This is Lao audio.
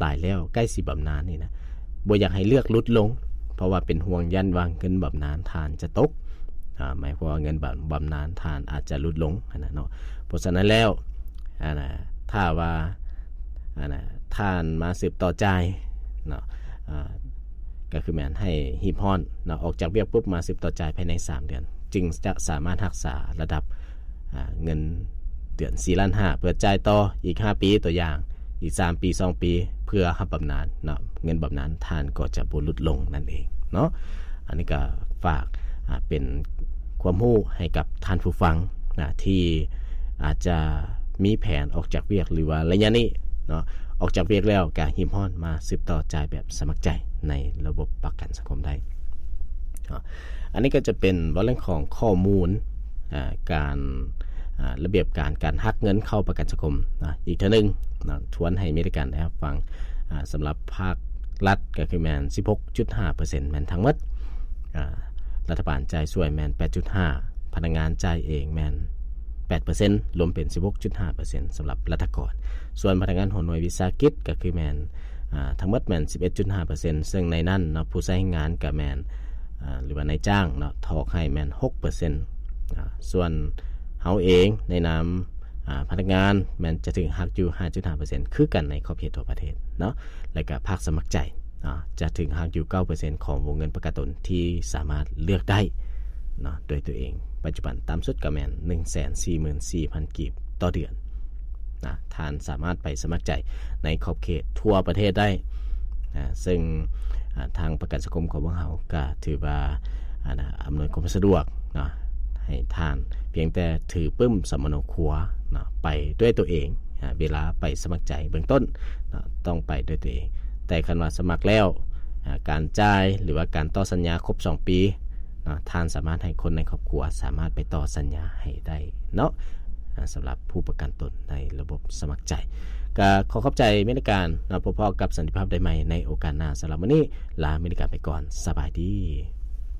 ຕາຍແລ້ວ ໃກ້ຊິບຳນານນີ້ນະ ບໍ່ຢາກໃຫ້ເລືອກຫຼຸດລົງ ເພາະວ່າເປັນຫ່ວງຢ້ານວ່າເງິນບຳນານທ່ານຈະຕົກ ອາ ໝາຍຄວາມວ່າເງິນບຳ ບຳນານທ່ານອາດຈະຫຼຸດລົງຫັ້ນນະເນາະ. ເພາະສະນັ້ນແລ້ວ ອັນນະ ຖ້າວ່າ ອັນນະ ທ່ານມາສືບຕໍ່ຈ່າຍເນາະ ອາ ກໍຄືແມ່ນໃຫ້ຮີບຮ້ອນເນາະ ອອກຈາກວຽກປຸບມາສືບຕໍ່ຈ່າຍພາຍໃນສາມເດືອນ ຈຶ່ງຈະສາມາດຮັກສາລະດັບ ອາ ເງິນເດືອນສີ່ລ້ານຫ້າ ເພື່ອຈ່າຍຕໍ່ອີກຫ້າປີ ຕົວຢ່າງ ອີກສາມປີ ສອງປີ ເພື່ອຮັບບຳນານເນາະ ເງິນບຳນານທ່ານກໍຈະບໍ່ຫຼຸດລົງນັ້ນເອງເນາະ. ອັນນີ້ກໍຝາກ ອາ ເປັນຄວາມຮູ້ໃຫ້ກັບທ່ານຜູ້ຟັງນະ ທີ່ອາດຈະມີແຜນອອກຈາກວຽກ ຫຼືວ່າໄລຍະນີ້ເນາະ ອອກຈາກວຽກແລ້ວກໍຮີບຮ້ອນມາສືບຕໍ່ຈ່າຍແບບສະໝັກໃຈໃນລະບົບປະກັນສັງຄົມໄດ້ເນາະ. ອັນນີ້ກໍຈະເປັນເວົ້າເລື່ອງຂອງຂໍ້ມູນ ອາ ການ ອາ ລະບຽບການ ການຫັກເງິນເຂົ້າປະກັນສັງຄົມນະ. ອີກເທື່ອໜຶ່ງນະ ທວນໃຫ້ມີແຕ່ການໄດ້ຮັບຟັງ ອາ ສຳລັບພາກລັດກໍຄືແມ່ນສິບຫົກຈຸດຫ້າເປີເຊັນ ແມ່ນທັງໝົດ ອາ ລັດຖະບານຈ່າຍຊ່ວຍແມ່ນແປດຈຸດຫ້າ ພະນັກງານຈ່າຍເອງແມ່ນແປດເປີເຊັນ ລວມເປັນສິບຫົກຈຸດຫ້າເປີເຊັນ ສຳລັບລັດຖະກອນ. ສ່ວນພະນັກງານຫົວໜ່ວຍວິສາຫະກິດກໍຄືແມ່ນ ອາ ທັງໝົດແມ່ນສິບເອັດຈຸດຫ້າເປີເຊັນ ເຊິ່ງໃນນັ້ນເນາະ ຜູ້ໃຊ້ແຮງງານກໍແມ່ນ ອາ ຫຼືວ່ານາຍຈ້າງເນາະ ຖອກໃຫ້ແມ່ນຫົກເປີເຊັນ ອາ ສ່ວນເຮົາເອງໃນນາມ ອາ ພະນັກງານແມ່ນຈະຖືກຫັກຢູ່ຫ້າຈຸດຫ້າເປີເຊັນ ຄືກັນໃນຂອບເຂດທົ່ວປະເທດເນາະ. ແລະກະພາກສະໝັກໃຈເນາະ ຈະຖືກຫັກຢູ່ເກົ້າເປີເຊັນ ຂອງວົງເງິນປະກັນຕົນທີ່ສາມາດເລືອກໄດ້ເນາະ ໂດຍຕົວເອງ. ປັດຈຸບັນຕ່ຳສຸດກໍແມ່ນໜຶ່ງແສນສີ່ໝື່ນສີ່ພັນກີບຕໍ່ເດືອນນະ. ທ່ານສາມາດໄປສະໝັກໃຈໃນຂອບເຂດທົ່ວປະເທດໄດ້ນະ ເຊິ່ງ ອາ ທາງປະກັນສັງຄົມຂອງພວກເຮົາກໍຖືວ່າ ອາ ນະ ອຳນວຍຄວາມສະດວກເນາະ ໃຫ້ທ່ານພຽງແຕ່ຖືປຶ້ມສຳມະໂນຄົວເນາະ ໄປດ້ວຍຕົວເອງ. ອາ ເວລາໄປສະໝັກໃຈເບື້ອງຕົ້ນເນາະ ຕ້ອງໄປດ້ວຍຕົວເອງ. ແຕ່ຄັນວ່າສະໝັກແລ້ວ ອາ ການຈ່າຍ ຫຼືວ່າການຕໍ່ສັນຍາຄົບສອງປີເນາະ ທ່ານສາມາດໃຫ້ຄົນໃນຄອບຄົວສາມາດໄປຕໍ່ສັນຍາໃຫ້ໄດ້ເນາະ. ອາ ສຳລັບຜູ້ປະກັນຕົນໃນລະບົບສະໝັກໃຈ ກໍຂໍຂອບໃຈເມການເນາະ. ພົບພໍ້ກັບສັນຕິພາບໄດ້ໃໝ່ໃນໂອກາດໜ້າ. ສຳລັບມື້ນີ້ ລາເມກາໄປກ່ອນ. ສະບາຍດີ.